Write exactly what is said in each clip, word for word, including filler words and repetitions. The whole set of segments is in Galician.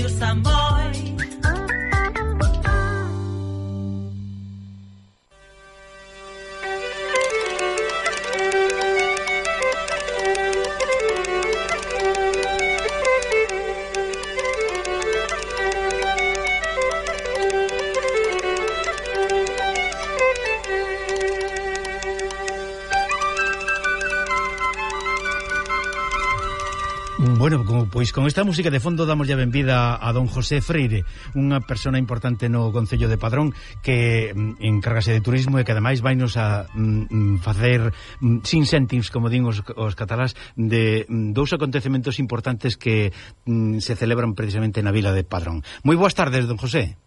Radio Samboy. Bueno, como, pois con esta música de fondo damos ya benvida a don José Freire, unha persona importante no Concello de Padrón que mm, encárgase de turismo e que ademais vainos a mm, facer mm, sin céntimos, como din os, os catalás, de mm, dous acontecementos importantes que mm, se celebran precisamente na vila de Padrón. Moi boas tardes, don José.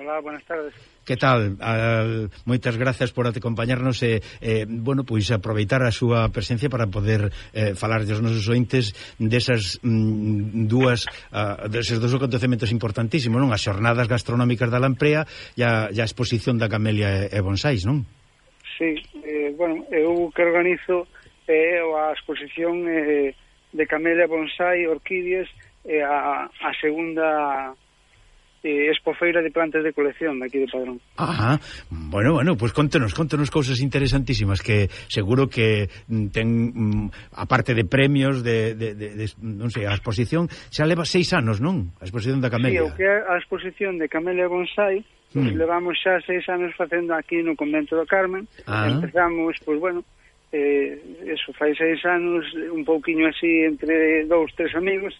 Hola, buenas tardes. Que tal? Al, moitas gracias por acompañarnos e, eh, bueno, pois aproveitar a súa presencia para poder eh, falar dos nosos ointes desas mm, dúas uh, deses dous acontecementos importantísimos, non? As xornadas gastronómicas da Lamprea e a, e a exposición da Camelia e, e Bonsais, non? Sí, eh, bueno, eu que organizo é eh, a exposición eh, de Camelia, Bonsai, Orquídeas e eh, a, a segunda Eh, expofeira de plantas de colección daqui de Padrón. Ajá, bueno, bueno, pues contenos, contenos cousas interesantísimas que seguro que ten, mm, aparte de premios de, de, de, de non sei, a exposición xa leva seis anos, non? A exposición da Camelia. Sí, o que é a exposición de Camelia Bonsai, pues, mm. levamos xa seis anos facendo aquí no Convento do Carmen. Ah. Empezamos, pois pues, bueno, eh, eso, fai seis anos, un pouquiño así entre dous, tres amigos,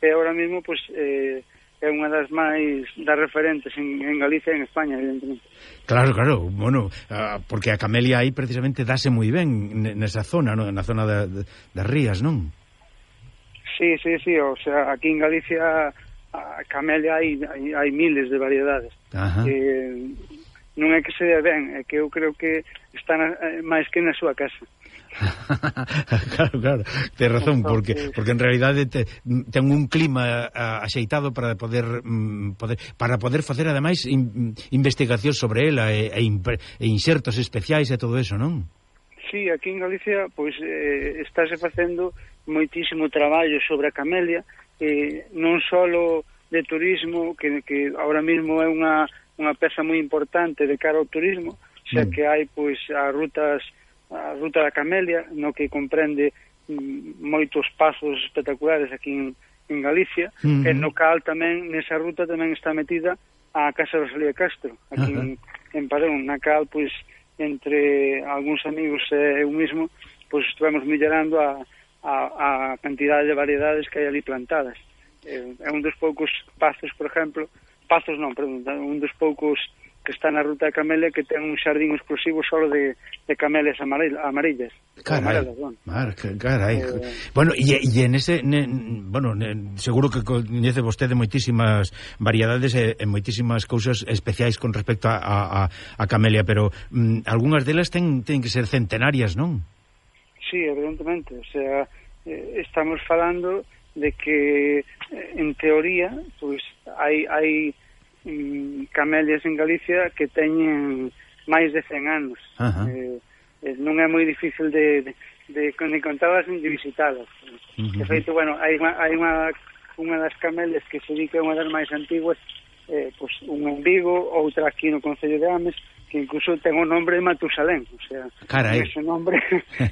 e agora mesmo, pois pues, eh, é unha das máis das referentes en, en Galicia e en España, evidentemente. Claro, claro, bueno, uh, porque a Camelia aí precisamente dase moi ben nesa zona, non? Na zona da, das rías, non? Sí, sí, sí, o sea, aquí en Galicia a Camelia hai, hai, hai miles de variedades. Ajá. Eh, non é que se dé ben, é que eu creo que están eh, máis que na súa casa. Claro, claro, ten razón, porque porque en realidade te, ten un clima a, axeitado para poder, mm, poder para poder facer ademais in, investigación sobre ela e, e, e insertos especiais e todo eso, non? Sí, aquí en Galicia pois eh, estáse facendo moitísimo traballo sobre a Camelia, eh, non só de turismo, que, que ahora mesmo é unha, unha peza moi importante de cara ao turismo, xa mm. que hai pois as rutas a ruta da Camelia, no que comprende mm, moitos pazos espectaculares aquí en, en Galicia, uh-huh. e no cal tamén, nesa ruta tamén está metida a Casa Rosalía Castro, aquí uh-huh. en, en Padrón, na cal, pois, entre algúns amigos e eu mismo, pois, estivemos mellorando a, a, a cantidade de variedades que hai ali plantadas. É, é un dos poucos pazos, por exemplo, pazos non, perdón, un dos poucos que está na ruta de Camelia que ten un xardín exclusivo solo de, de camelias amarillas. Carai, bueno. Mar, carai. Eh, bueno, e, e en ese, ne, bueno, ne, seguro que coñece vostede moitísimas variedades e, e moitísimas cousas especiais con respecto a, a, a Camelia, pero mm, algunhas delas ten, ten que ser centenarias, non? Sí, evidentemente, o sea, eh, estamos falando de que, eh, en teoría, pois, pues, hai... hai camelias en Galicia que teñen máis de cen anos. Eh, eh, non é moi difícil de, de, de, de contadas nin de visitalas. Uh-huh. De feito, bueno, hai unha, hai unha, unha das camelias que se di que é unha das máis antiguas, eh, pues, unha en Vigo, outra aquí no Concello de Ames, que incluso ten o nombre de Matusalén, o sea, carai, con ese nombre,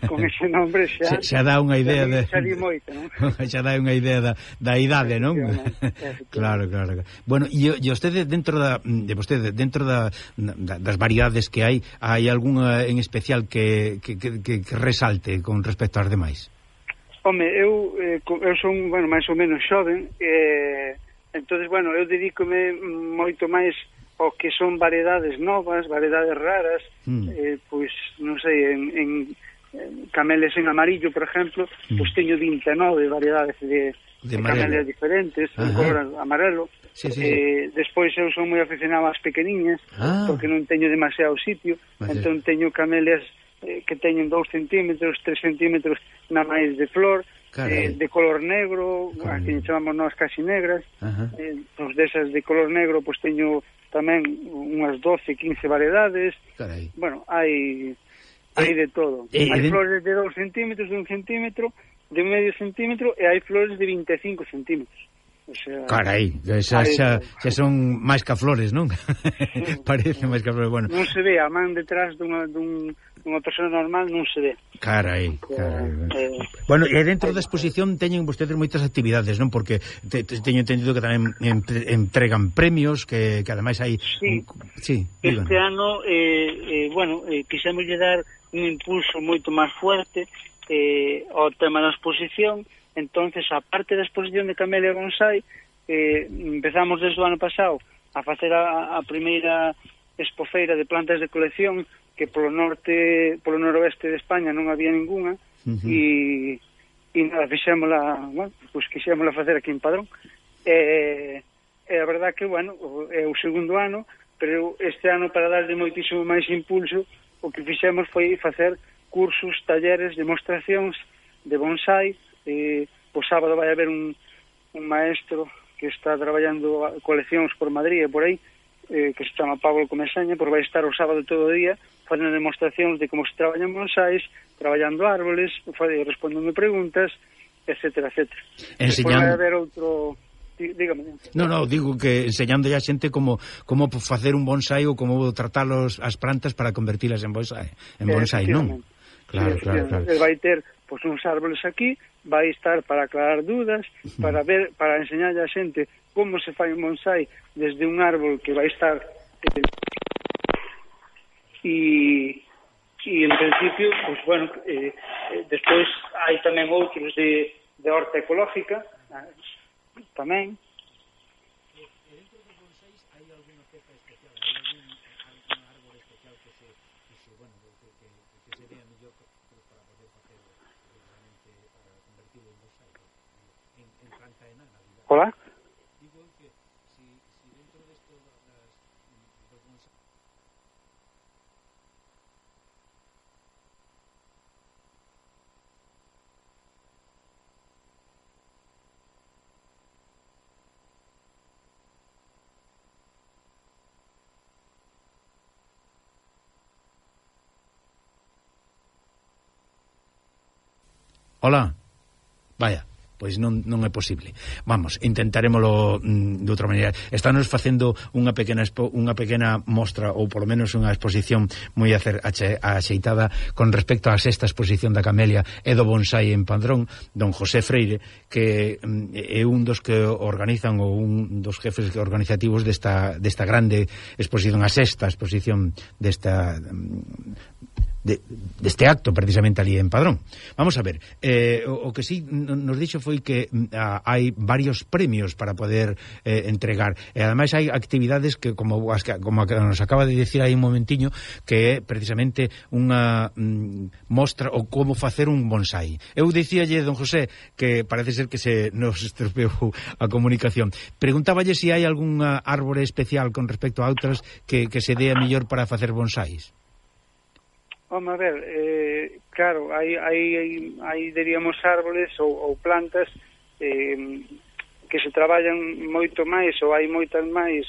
con ese nombre xa, xa, xa dá unha idea de xa di moito, non? Xa dá unha idea da, da idade, non? Claro, claro. Bueno, e, e vostede dentro da de vostede dentro da, da das variedades que hai, hai algunha en especial que, que, que, que resalte con respecto ás demais? Home, eu eh, eu son, bueno, máis ou menos xoven, eh, entonces, bueno, eu dedícome moito máis o que son variedades novas, variedades raras, mm. eh, pois, non sei, en, en, en camelias en amarillo, por exemplo, mm. pois teño vinte e nove variedades de, de, de camelias diferentes, en color amarelo. Sí, sí, eh, sí. Despois eu son moi aficionado ás pequeniñas, ah. porque non teño demasiado sitio, vale. Entón teño camelias eh, que teñen dous centímetros, tres centímetros na máis de flor, eh, de color negro, a que chamamos nós casi negras, eh, pois desas de color negro, pois teño tamén unhas doce, quince variedades. Carai. Bueno, hai hai eh, de todo. Eh, hai eh, flores de dous centímetros, de un centímetro, de medio centímetro, e hai flores de vinte e cinco centímetros. O sea, carai, xa, xa, xa son máis que flores, non? Sí, parece máis que flores, bueno. Non se ve a man detrás dunha, dun, dunha persona normal, non se ve. Carai, carai. Eh, bueno, e dentro da exposición teñen vostedes moitas actividades, non? Porque te, te, teño entendido que tamén entregan premios, que, que ademais hai... Sí, un, sí este ano, eh, eh, bueno, eh, quixemos lle dar un impulso moito máis fuerte eh, ao tema da exposición. Entonces, a parte da exposición de Camelia Bonsai, eh, empezamos desde o ano pasado a facer a, a primeira expofeira de plantas de colección, que polo norte, polo noroeste de España non había ninguna, uh-huh. e, e nada, fixémola, bueno, pues quixémola facer aquí en Padrón. E, e a verdad que, bueno, é o segundo ano, pero este ano, para darle moitísimo máis impulso, o que fixemos foi facer cursos, talleres, demostracións de bonsai. Eh, o sábado vai haber un, un maestro que está traballando coleccións por Madrid e por aí, eh, que se chama Pablo Comesaña, por vai estar o sábado todo o día facendo demostracións de como se traballan bonsais, traballando árboles, respondendo preguntas, etcétera, etcétera. Enseñando... Despois vai haber outro... Dígame. No, no, digo que enseñando a xente como como facer un bonsai ou como tratar los, as plantas para convertilas en bonsai, en bonsai, non? Claro, sí, claro, claro. El vai ter pois uns árboles aquí, vai estar para aclarar dúdas, para ver, para enseñar a xente como se fai un bonsai desde un árbol que vai estar eh, e e en principio, pois bueno, eh, eh, despois hai tamén outros de, de horta ecológica, eh, tamén. Hola. Digo que si, si dentro de esto las, los bonsai... Hola. Vaya. Pois non, non é posible. Vamos, intentaremoslo mm, de outra maneira. Estános facendo unha pequena expo, unha pequena mostra, ou polo menos unha exposición moi acer, ache, axeitada con respecto á sexta exposición da Camelia e do bonsai en Padrón, don José Freire, que mm, é un dos que organizan, ou un dos jefes organizativos desta, desta grande exposición, a sexta exposición desta... Mm, De, deste acto precisamente ali en Padrón. Vamos a ver, eh, o, o que sí nos dixo foi que a, hai varios premios para poder eh, entregar, e ademais hai actividades que como, as que, como a que nos acaba de dicir aí un momentiño, que é precisamente unha mm, mostra o como facer un bonsai. Eu dicíalle, don José, que parece ser que se nos estropeou a comunicación. Preguntáballe se si hai algunha árbore especial con respecto a outras que, que se dea mellor para facer bonsais. Vamos a ver, eh, claro, hai, hai, hai, diríamos, árboles ou, ou plantas eh, que se traballan moito máis, ou hai moitas máis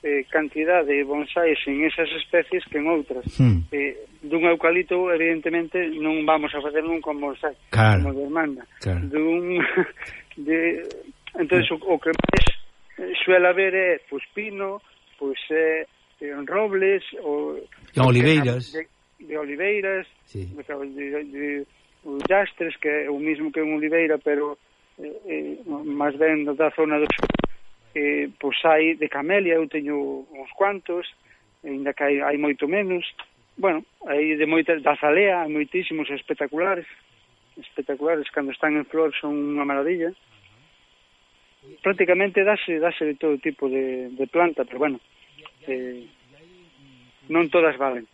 eh, cantidad de bonsais en esas especies que en outras. Hmm. Eh, dun eucalipto, evidentemente, non vamos a facer nunca un bonsai, claro, como demanda. Claro. Dun, de, entonces, o, o que máis suele haber é, pois, pino, pois, eh, robles, ou... E oliveiras... De, de oliveiras, sí. de, de, de llastres, que é o mismo que unha oliveira, pero eh, eh, máis ben da zona do sur. Eh, pois hai de camelia, eu teño uns cuantos, ainda que hai, hai moito menos. Bueno, hai de moitas, da azalea, hai moitísimos espectaculares, espectaculares, cando están en flor son unha maravilla. Prácticamente dáse, dáse de todo tipo de, de planta, pero bueno, eh, non todas valen.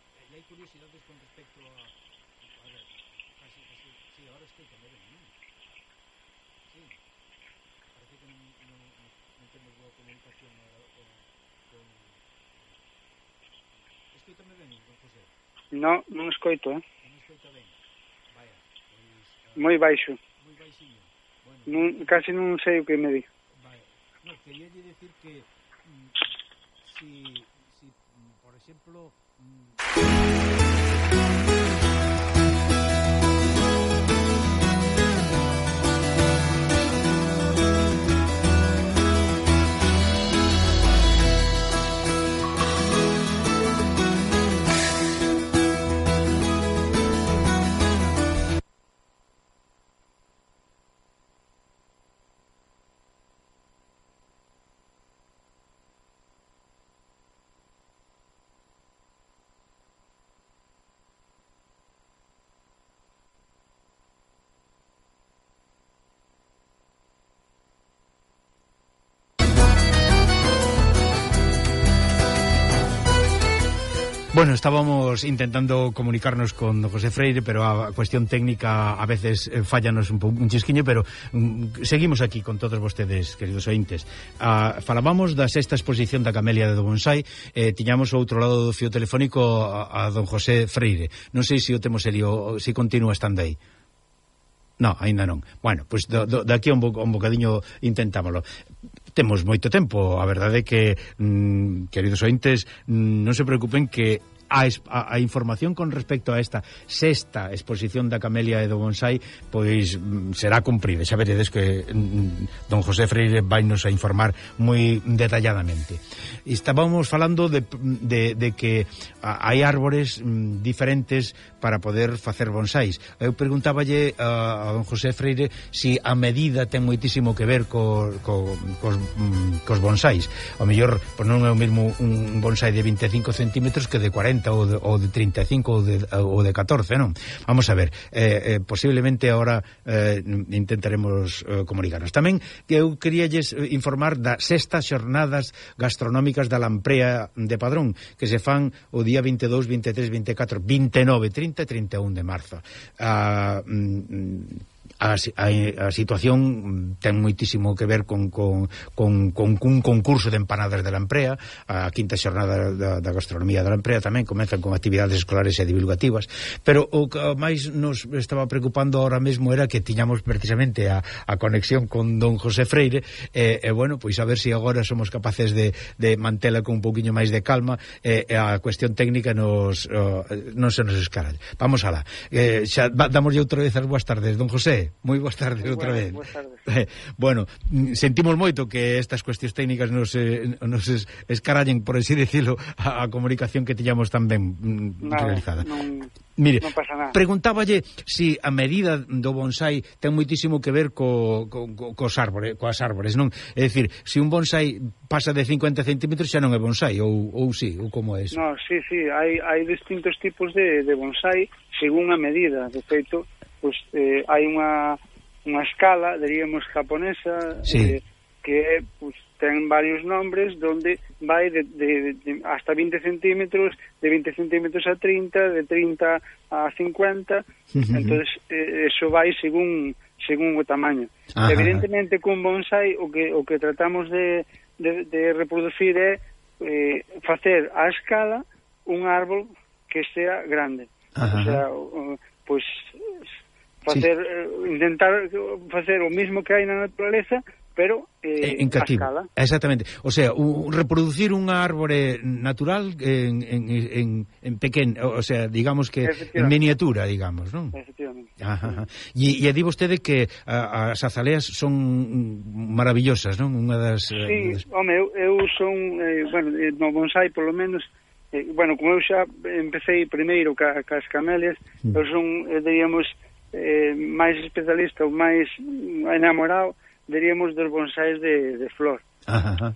No, non escoito, eh? Moi baixo. Non, casi non sei o que me di. No, quería decir que mm, si, si, por exemplo... Mm... Bueno, estábamos intentando comunicarnos con José Freire, pero a cuestión técnica a veces eh, fallanos un, un chisquiño, pero mm, seguimos aquí con todos vostedes, queridos ointes. Ah, falábamos da sexta exposición da Camelia de do Bonsai, eh, tiñamos ao outro lado do fio telefónico a, a don José Freire. Non sei se o temos eli ou se continúa estando aí. No, aínda non. Bueno, pois pues, do, do, daqui a un, bo, un bocadiño intentámoslo. Temos moito tempo, a verdade é que, mm, queridos ointes, mm, non se preocupen que A, a, a información con respecto a esta sexta exposición da Camelia e do Bonsai pois será cumprida. Xa veredes que mm, don José Freire vai nos a informar moi detalladamente. Estábamos falando de, de, de que hai árbores mm, diferentes para poder facer bonsais. Eu preguntáballe a, a don José Freire si a medida ten moitísimo que ver co, co, cos, mm, cos bonsais. O mellor, pois non é o mesmo un bonsai de vinte e cinco centímetros que de cuarenta ou de, ou de trinta e cinco ou de, ou de catorce, non? Vamos a ver, eh, eh, posiblemente agora eh, intentaremos eh, comunicarnos. Tamén que eu queríalles informar das sextas xornadas gastronómicas da Lamprea de Padrón, que se fan o día vinte e dous, vinte e tres, vinte e catro, vinte e nove, trinta e trinta e un de marzo. Ah, mm, A, a, a situación ten moitísimo que ver con, con, con, con un concurso de empanadas de Lamprea. A quinta xornada da, da gastronomía de Lamprea tamén comezan con actividades escolares e divulgativas, pero o que máis nos estaba preocupando ahora mesmo era que tiñamos precisamente a, a conexión con don José Freire e, e bueno, pois a ver se si agora somos capaces de, de mantela con un pouquiño máis de calma e, e a cuestión técnica nos, uh, non se nos escara. Vamos alá. Eh, xa damoslle outra vez as boas tardes, don José. Moi boas tardes outra vez. Boas tardes. Eh, bueno, sentimos moito que estas cuestións técnicas nos, eh, nos es, escarallen, por así decirlo, a, a comunicación que tiñamos tan ben mm, nada, realizada. Non, Mire, non pasa nada. Preguntáballe si a medida do bonsai ten moitísimo que ver co, co, co, cos árbores, coas árbores, non? É dicir, se un bonsai pasa de cincuenta centímetros xa non é bonsai, ou, ou si, ou como é eso? No, sí, sí, hai, hai distintos tipos de, de bonsai según a medida. De feito, pues, eh, hai unha, unha escala, diríamos, japonesa, sí. eh, que pues, ten varios nombres, donde vai de, de, de hasta vinte centímetros, de vinte centímetros a trinta, de trinta a cincuenta, uh-huh. Entonces eh, eso vai según según o tamaño. Ajá. Evidentemente, con bonsai, o que, o que tratamos de, de, de reproducir é eh, facer a escala un árbol que sea grande. Ajá. O sea, uh, pues facer, sí. eh, intentar facer o mismo que hai na naturaleza, pero eh, en cativo. A escala. Exactamente. O sea, un, reproducir un árbore natural en, en, en, en pequeno, o sea, digamos que en miniatura, digamos, non? Efectivamente. Ajá. E, e di vostede que a, as azaleas son maravillosas, non? Unha das... Sí, das... home, eu, eu son, eh, bueno, no bonsai, polo menos, eh, bueno, como eu xa empecé primeiro ca, ca as camelias, mm. eu son, eh, diríamos, eh, máis especialista ou máis enamorado, diríamos, dos bonsais de, de flor.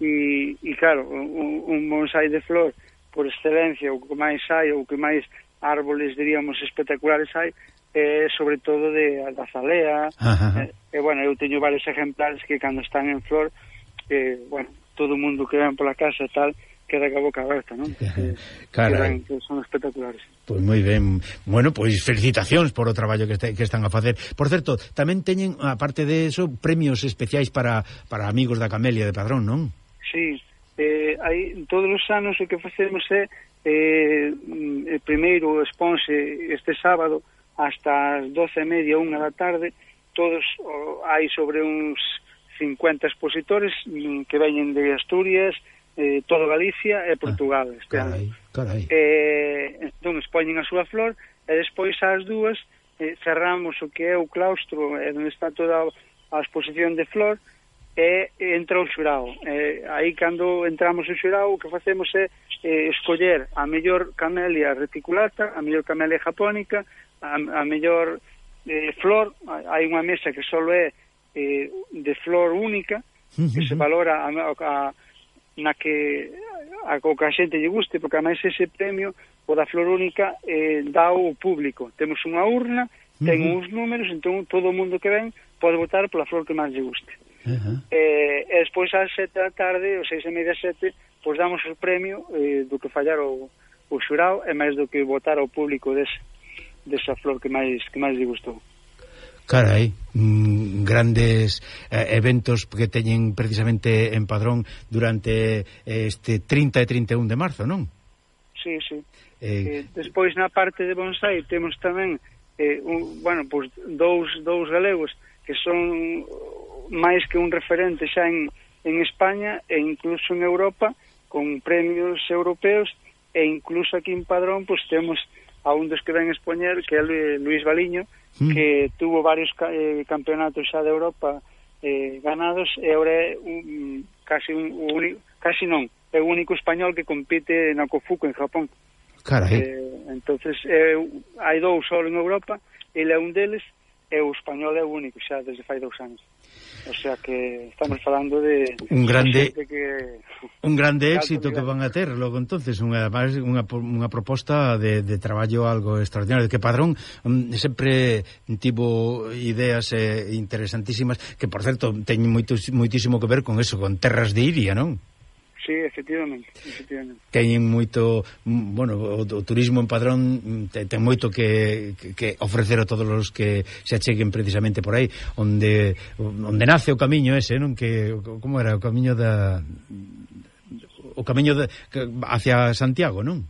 E, e claro, un, un bonsai de flor por excelencia, o que máis hai, o que máis árboles, diríamos, espectaculares hai, é sobre todo de azalea. E, e bueno, eu teño varios ejemplares que cando están en flor, eh, bueno, todo o mundo que ven pola casa e tal, queda ca boca aberta, non? Que, Carai. que son espectaculares. Pois pues moi ben. Bueno, pois pues, felicitacións por o traballo que, este, que están a facer. Por certo, tamén teñen, aparte de eso, premios especiais para, para amigos da Camelia de Padrón, non? Sí, eh, hai, todos os anos o que facemos é eh, el primeiro exponse este sábado hasta as doce e media, unha da tarde. Todos, oh, hai sobre uns cincuenta expositores que veñen de Asturias, eh, todo Galicia e Portugal. Ah, este carai, ano. Carai. Eh, entón, expoñen a súa flor e despois ás dúas eh, cerramos o que é o claustro, eh, onde está toda a exposición de flor, e entra o xurao. Eh, aí, cando entramos o xurao, o que facemos é eh, escoller a mellor camelia reticulata, a mellor camelia japónica, a, a mellor eh, flor. Hai unha mesa que só é eh, de flor única, que se valora a, a, na que a, a que a xente lle guste, porque ademais ese premio, o da flor única, eh, dá o público. Temos unha urna, ten uh -huh. uns números, entón todo o mundo que ven pode votar pola flor que máis lle guste. Uh -huh. eh, e despois ás sete da tarde, ou seis e media sete, pois damos o premio eh, do que fallar o, o xurao e máis do que votar ao público des, desa flor que máis que máis lle gustou. Carai, mm, grandes eh, eventos que teñen precisamente en Padrón durante este trinta e trinta e un de marzo, non? Sí, sí. Eh, eh, despois na parte de bonsai temos tamén eh, un, bueno, pues, dous, dous galegos que son máis que un referente xa en, en España e incluso en Europa, con premios europeos, e incluso aquí en Padrón pues temos a un dos que ven expoñer, que é Luís Baliño, mm. que tuvo varios eh, campeonatos xa de Europa eh, ganados, e agora é un, casi un, un casi non, é o único español que compite na Kofuku en Japón. Carai. Eh, entonces eh, hai dous só en Europa, ele é un deles, e o español é o único xa desde fai dous anos. O sea que estamos falando de un grande de que un grande éxito que van a ter logo entonces unha unha unha proposta de, de traballo algo extraordinario, que Padrón um, sempre tivo ideas eh, interesantísimas que, por certo, teñen moito, moitísimo que ver con eso, con terras de Iria, non? Sí, efectivamente, efectivamente. Teñen moito, bueno, o, o turismo en Padrón ten, ten moito que, que, que ofrecer a todos os que se acheguen precisamente por aí, onde onde nace o camiño ese, non? Que como era o camiño da o camiño de, hacia Santiago, non?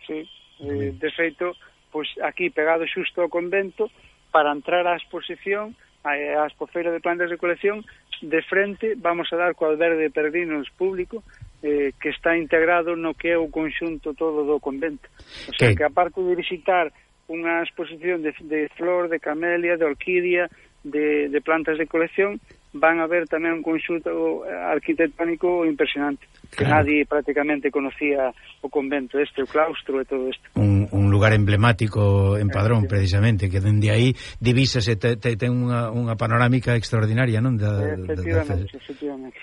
Sí, eh, de feito, pois aquí pegado xusto ao convento, para entrar á exposición, á expofeira de plantas de colección, de frente vamos a dar co albergue de peregrinos público, eh, que está integrado no que é o conxunto todo do convento. O sea, que, que aparte de visitar unha exposición de, de flor, de camelia, de orquídea, de, de plantas de colección, van a ver tamén un conxunto arquitectónico impresionante, que claro, nadie prácticamente conocía o convento este, o claustro e todo isto. Un, un lugar emblemático en Padrón, precisamente, que dende aí divísase, te, te, ten unha, unha panorámica extraordinaria, non? Da, efectivamente, da, da, efectivamente.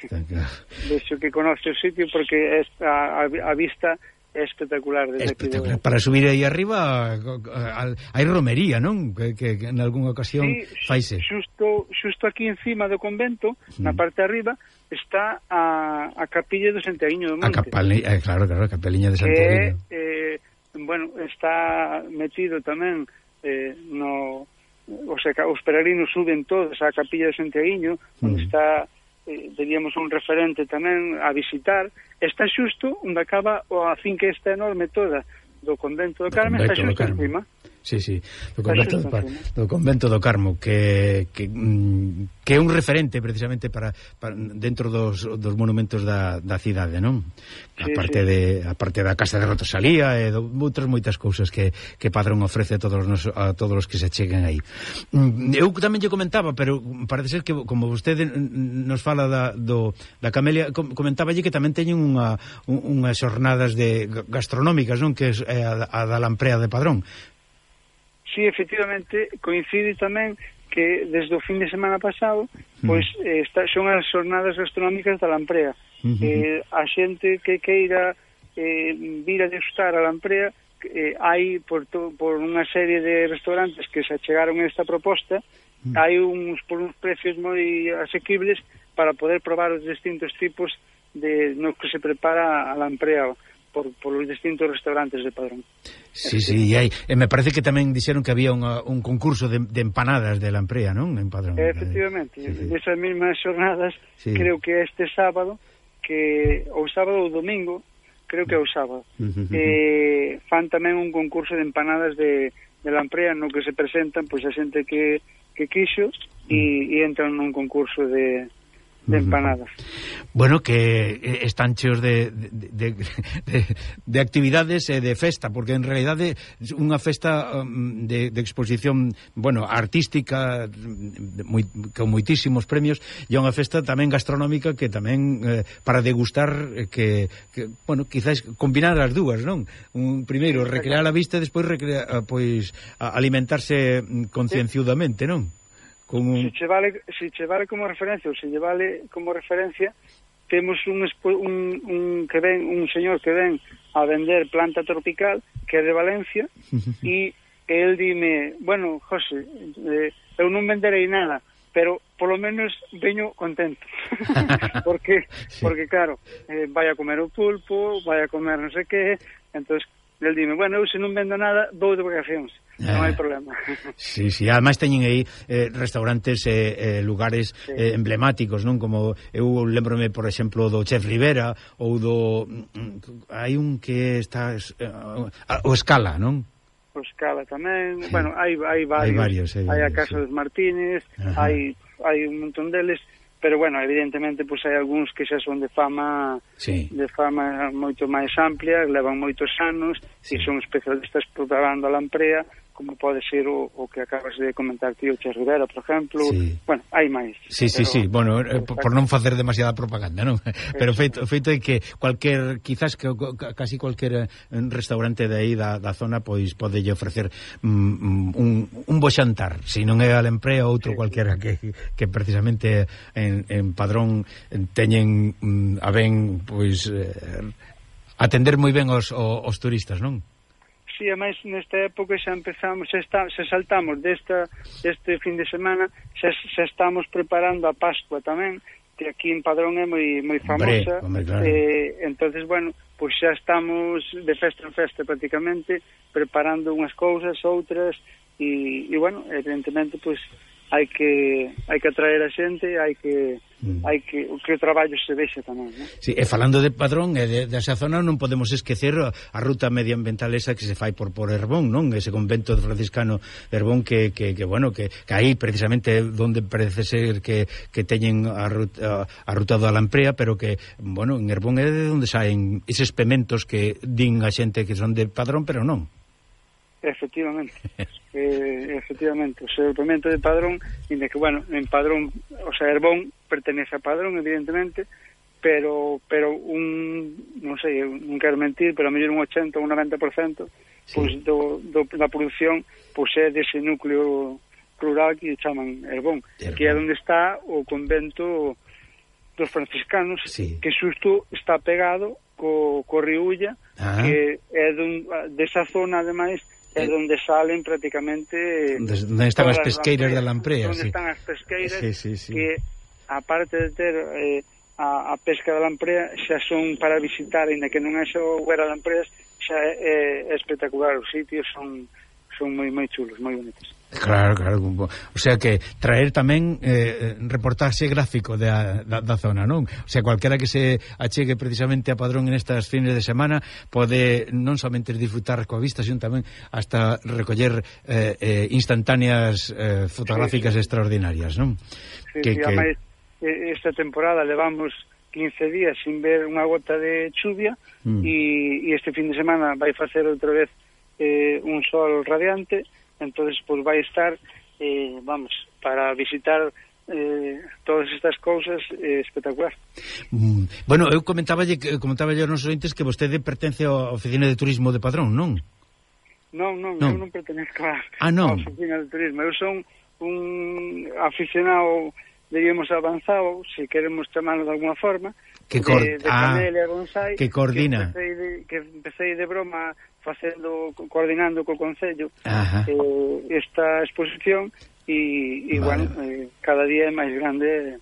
De hecho que conoce o sitio porque a, a, a vista é espectacular. Desde espectacular. De... Para subir aí arriba hai romería, non? Que, que, que en algunha ocasión sí, faise. Xusto, xusto aquí encima do convento, mm. na parte de arriba, está a, a capilla do Santiaguiño do Monte. A capaliña, eh, claro, claro, a capeliña de Santiaguiño. Que, eh, bueno, está metido tamén eh, no... O sea, os peregrinos suben todos á capilla de Santiaguiño, mm. onde está... Eh, diríamos un referente tamén a visitar. Está xusto onde acaba a finca esta enorme toda do convento do Carme, está xusto encima. Sí, sí, do convento do, do convento do Carmo, que, que, que é un referente precisamente para, para dentro dos, dos monumentos da, da cidade, non? A parte, sí, sí. de, a parte da Casa de Rotosalía e do, outras moitas cousas que, que Padrón ofrece a todos, nos, a todos os que se cheguen aí. Eu tamén lle comentaba, pero parece ser que como vostede nos fala da, do, da Camelia, comentáballe que tamén teñen unha, unhas xornadas de gastronómicas, non? Que é a, a da Lamprea de Padrón. Sí, efectivamente, coincide tamén que desde o fin de semana pasado, pois eh, está, son as xornadas gastronómicas da Lamprea. Uh-huh. Eh, a xente que queira eh, vir a degustar a Lamprea, eh, hai por, to, por unha serie de restaurantes que se achegaron a esta proposta, uh-huh. hai uns por uns precios moi asequibles para poder probar os distintos tipos de no que se prepara a Lamprea por, por os distintos restaurantes de Padrón. Sí, sí, e, hai, e me parece que tamén dixeron que había unha, un concurso de, de empanadas de Lamprea, non? En Padrón. Efectivamente, sí, sí. Esas mesmas xornadas, sí. Creo que este sábado, que o sábado ou domingo, creo que é o sábado, uh -huh. eh, fan tamén un concurso de empanadas de, de Lamprea no que se presentan pois a xente que, que quixo e, e entran nun concurso de de empanadas. Bueno, que están cheos de, de, de, de, de actividades e de festa, porque en realidade unha festa de, de exposición, bueno, artística moi, con moitísimos premios, e unha festa tamén gastronómica que tamén eh, para degustar que, que, bueno, quizás combinar as dúas, non? Un primeiro recrear a vista e despois recrear, pois alimentarse concienciudamente, non? Un... Se, che vale, se che vale como referencia ou se lle vale como referencia, temos un, un, un que ven un señor que ven a vender planta tropical que é de Valencia e el dime, bueno, José, eh, eu non venderei nada, pero polo menos veño contento porque, sí. Porque claro, eh, vai a comer o pulpo, vai a comer non sei que, entonces el dime, bueno, eu se non vendo nada vou de vacacións, eh, non hai problema. Sí, sí, ademais teñen aí eh, restaurantes e eh, eh, lugares sí. eh, emblemáticos, non? Como eu lembrome, por exemplo, do Chef Rivera ou do hai un que está eh, o Escala, non? O Escala tamén, sí. Bueno, hai hai varios, hai, varios, hai, hai varios, a Casa sí. dos Martínez, Ajá. hai hai un montón deles. Pero, bueno, evidentemente, pues, hai algúns que xa son de fama sí. de fama moito máis amplia, levan moitos anos, sí. e son especialistas preparando a lamprea, como pode ser o, o que acabas de comentar ti, o Che Rivera, por exemplo. Sí. Bueno, hai máis. Sí, sí, pero, sí, bueno, eh, por, por non facer demasiada propaganda, non? Pero feito, feito é que cualquier, quizás que casi cualquier restaurante de aí da, da zona, pois pode lle ofrecer mm, un, un bo xantar, se non é a lamprea outro sí. cualquiera que, que precisamente en, en Padrón teñen mm, a ben, pois, eh, atender moi ben os, os, os turistas, non? Sí, ademais nesta época xa empezamos, xa, está, xa saltamos desta, deste fin de semana, xa, xa estamos preparando a Pascua tamén, que aquí en Padrón é moi, moi famosa. Hombre, hombre, claro. eh, entonces, bueno, pois pues xa estamos de festa en festa prácticamente, preparando unhas cousas, outras, e, e bueno, evidentemente, pois, pues, hai que hai que atraer a xente, hai que mm. hai que que o traballo se vexe tamén, ¿no? Sí, e falando de Padrón e de, desa zona, non podemos esquecer a, a ruta medioambiental esa que se fai por por Herbón, non? Ese convento franciscano de Herbón que, que, que bueno, que, que aí precisamente onde parece ser que, que teñen a ruta, a ruta da lamprea, pero que, bueno, en Herbón é de onde saen eses pementos que din a xente que son de Padrón, pero non. Efectivamente, eh, efectivamente, o seu pemento de Padrón, inda que, bueno, en Padrón, o sea, Herbón pertenece a Padrón, evidentemente, pero pero un, non sei, non quero mentir, pero a mellor un ochenta ou un noventa por cento sí. Pois do, do, da produción pois é dese núcleo rural que chaman Herbón, Herbón, que é onde está o convento dos franciscanos, sí. que xusto está pegado co, co río Ulla, ah. que é dun, desa zona, ademais, é onde salen prácticamente onde están as pesqueiras da lamprea, onde sí. están as pesqueiras, sí, sí, sí. que aparte de ter eh, a, a pesca da lamprea xa son para visitar, ainda que non é só huera de lampreas, xa é, é espectacular, os sitios son son moi moi chulos, moi bonitos. Claro, claro, o sea que traer tamén eh, reportaxe gráfico da, da, da zona, non? O sea, cualquera que se achegue precisamente a Padrón en estas fines de semana pode non somente disfrutar coa vista, sino tamén hasta recoller eh, eh, instantáneas eh, fotográficas sí, sí. extraordinarias, non? Sí, que, sí, que... además, esta temporada levamos quince días sin ver unha gota de chuvia mm. e, e este fin de semana vai facer outra vez eh, un sol radiante. Entonces, pues vai estar, eh, vamos, para visitar eh, todas estas cousas eh, espectacular. Mm, bueno, eu comentaballe, comentaballe aos nosos ointes que vostede pertence á Oficina de Turismo de Padrón, non? Non, non, non. eu non pertenezco á ah, non. Oficina de Turismo. Eu son un aficionado, diríamos, avanzado, se queremos chamarlo de alguna forma, que cor... de, de ah, Camelia Bonsai, que coordina. Que empecé de, que empecé de broma facendo, coordinando co Concello eh, esta exposición e, e vale. bueno, eh, cada día é máis grande.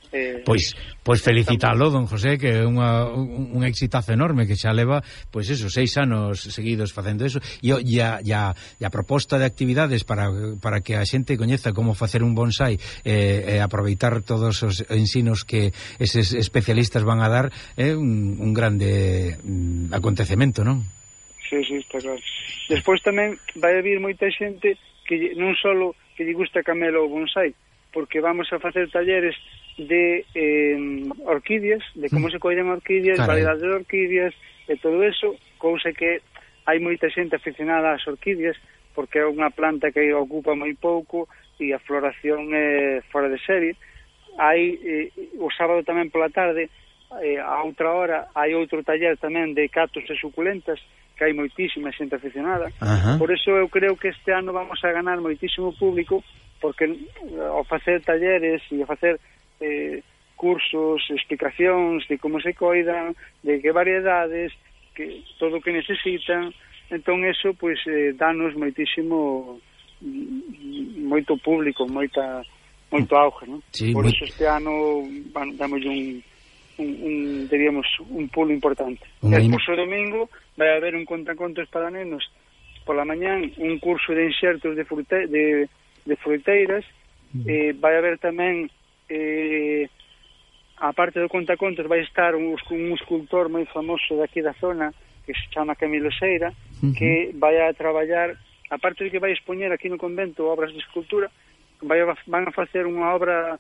Eh, pois pois felicitalo, don José, que é unha, un, un exitazo enorme que xa leva, pois eso, seis anos seguidos facendo eso, e, e, a, e, a, e a proposta de actividades para, para que a xente coñeza como facer un bonsai e eh, eh, aproveitar todos os ensinos que eses especialistas van a dar é un, un grande mm, acontecemento, non? Sí, sí, está claro. Despois tamén vai haber moita xente que non só que lle gusta camelo o bonsai, porque vamos a facer talleres de eh, orquídeas, de como se collen orquídeas, Caray. variedades de orquídeas e todo eso, cousa que hai moita xente aficionada ás orquídeas porque é unha planta que ocupa moi pouco e a floración é fora de serie. Hai eh, o sábado tamén pola tarde, eh, a outra hora hai outro taller tamén de catos e suculentas, que hai moitísima xente aficionada. Ajá. Por eso eu creo que este ano vamos a ganar moitísimo público, porque ao facer talleres e ao facer eh, cursos, explicacións de como se coidan, de que variedades, que todo o que necesitan, entón eso pois eh, danos moitísimo moito público, moita moito auge, non? Sí, por moi... eso este ano bueno, damos un un, un diríamos, un pulo importante. E despois o domingo vai haber un contacontos para nenos pola mañán, un curso de insertos de, frute, de, de fruiteiras, mm. eh, vai haber tamén eh, a parte do contacontos vai estar un, un escultor moi famoso daqui da zona que se chama Camilo Seira, uh -huh. que vai a traballar, aparte de que vai expoñer aquí no convento obras de escultura, vai a, van a facer unha obra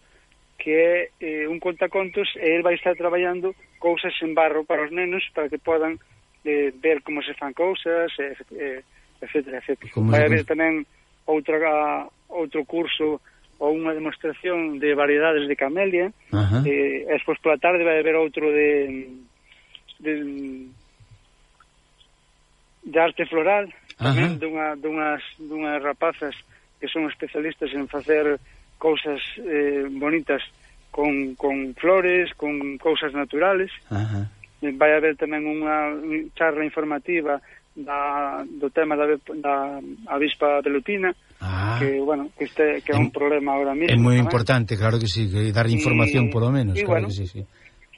que é eh, un contacontos e ele vai estar traballando cousas en barro para os nenos para que podan eh, ver como se fan cousas, eh, eh, etcétera, etcétera. Vai haber tamén outra, outro curso ou unha demostración de variedades de camelia, uh -huh. eh, e despois pola tarde vai haber outro de de, de arte floral, tamén uh -huh. dunha, dunhas, dunhas rapazas que son especialistas en facer cousas eh, bonitas con, con flores, con cousas naturales. Uh -huh. Vai haber tamén unha charla informativa da, do tema da, da avispa velutina, ah. que, bueno, que, este, que é un problema ahora mismo. É moi importante, claro que sí, que dar información, y, polo menos, y, claro, bueno, que sí, sí.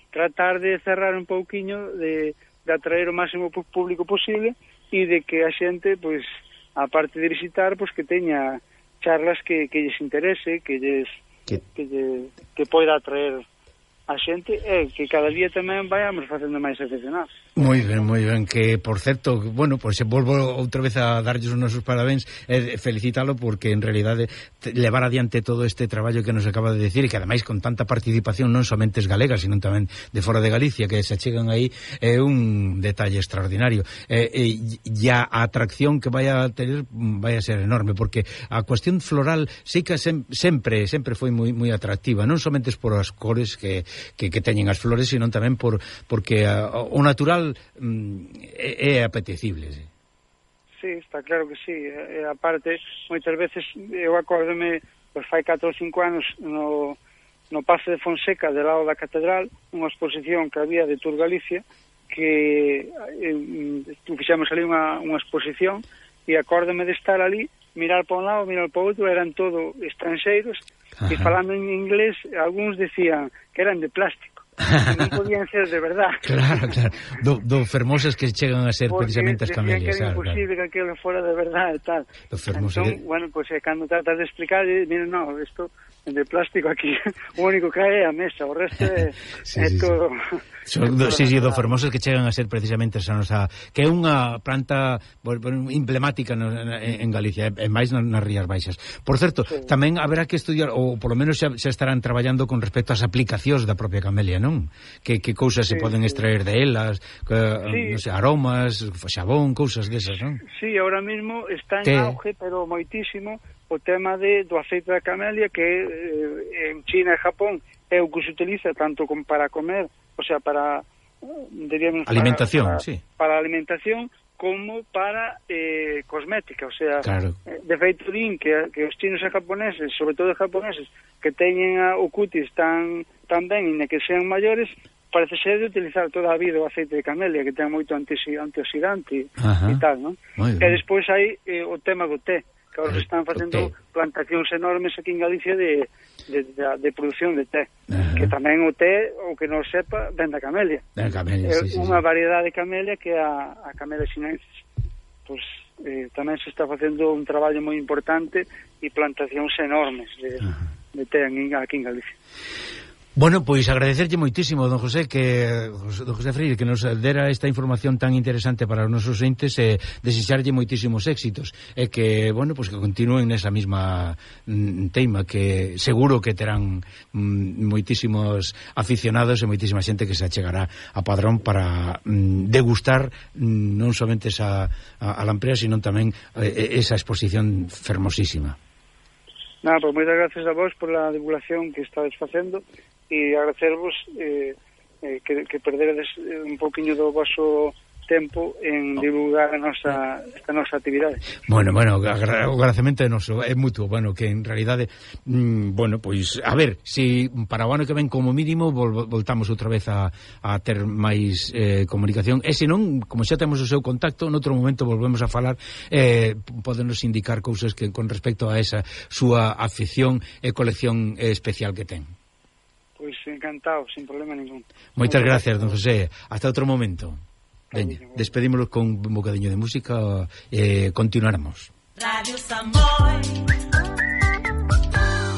Tratar de cerrar un pouquiño, de, de atraer o máximo público posible, e de que a xente, pois, aparte de visitar, pois que teña charlas que, que lles interese, que lles que, que, lle, que poida atraer a xente, e que cada día tamén vayamos facendo máis aficionados. Moi ben, moi ben, que, por certo, bueno, pois pues, volvo outra vez a darlles os nosos parabéns e felicítalo porque, en realidade, levar adiante todo este traballo que nos acaba de decir e que, ademais, con tanta participación non somente galegas, sino tamén de fora de Galicia, que se achegan aí, é un detalle extraordinario. E, e, e a atracción que vai a tener vai a ser enorme, porque a cuestión floral sí que sem, sempre, sempre foi moi, moi atractiva, non somente por as cores que, que, que teñen as flores, sino tamén por porque a, o natural é, é apetecible, sí. Sí, está claro que sí. E, aparte, moitas veces eu acórdome, pois fai catro ou cinco anos no, no Pazo de Fonseca, del lado da catedral, unha exposición que había de Tour Galicia, que eh, fixemos ali unha, unha exposición, e acórdome de estar ali, mirar para un lado, mirar para outro, eran todo estranxeiros, e falando en inglés, algúns decían que eran de plástico. Non podían ser de verdad. Claro, claro. Do, do fermosas que chegan a ser porque precisamente as camelias. Porque decían que era imposible claro. que aquilo fora de verdad e tal. Entón, que... bueno, pues eh, cando tratas de explicar, miren, no, isto de plástico aquí, o único que hai é a mesa, o resto é, sí, é sí, todo... Sí. Do, sí, sí, do fermosas que chegan a ser precisamente esa nosa... que é unha planta bueno, emblemática no, en, en Galicia, e máis nas Rías Baixas. Por certo, sí. tamén haberá que estudiar, ou polo menos xa, xa estarán traballando con respecto ás aplicacións da propia camelia, non? Que, que cousas sí, se poden sí. extraer de elas, que, sí. non sei, aromas, xabón, cousas desas, non? Sí, ahora mismo está en Te... auge, pero moitísimo, o tema de, do aceite da camelia, que eh, en China e Japón é o que se utiliza tanto como para comer, o sea, para diríamos, alimentación, para, para, sí. para alimentación como para eh, cosmética, o sea, claro. de feito din que, que os chinos e japoneses, sobre todo os japoneses, que teñen a, o cutis tan, tan ben e que sean maiores, parece ser de utilizar toda a vida o aceite de camelia, que ten moito antioxidante e tal, non? E despois hai eh, o tema do té, que ahora se están facendo plantacións enormes aquí en Galicia de, de, de, de produción de té. Uh-huh. Que tamén o té, o que non sepa, ven da camelia. Da camelia, é sí, sí, unha sí. variedade de camelia que é a, a camelia sinensis. Pois eh, tamén se está facendo un traballo moi importante e plantacións enormes de, uh-huh. de té aquí en Galicia. Bueno, pois agradecerlle moitísimo, don José, que don José Freire, que nos dera esta información tan interesante para os nosos entes e desexarlle moitísimos éxitos e que, bueno, pois que continúen nesa mesma mm, teima, que seguro que terán mm, moitísimos aficionados e moitísima xente que se achegará a Padrón para mm, degustar mm, non somente esa a, a lamprea, sino tamén eh, esa exposición fermosísima. Nada, pois moitas gracias a vos por a divulgación que estades facendo e agradecervos eh, eh, que, que perderedes un poquinho do vosso tempo en divulgar a nosa, esta nosa actividade. Bueno, bueno, o agradecemento é noso, é mutuo, bueno, que en realidade mmm, bueno, pois, a ver, si para o ano que ven como mínimo vol, voltamos outra vez a, a ter máis eh, comunicación, e se non, como xa temos o seu contacto, noutro momento volvemos a falar, eh, podenos indicar cousas que con respecto a esa súa afición e colección eh, especial que ten. Pois Pois encantado, sin problema ningún. Moitas gracias, don José. Hasta outro momento. Veña, despedímonos con un bocadinho de música e eh, continuaremos. Radio Samboy.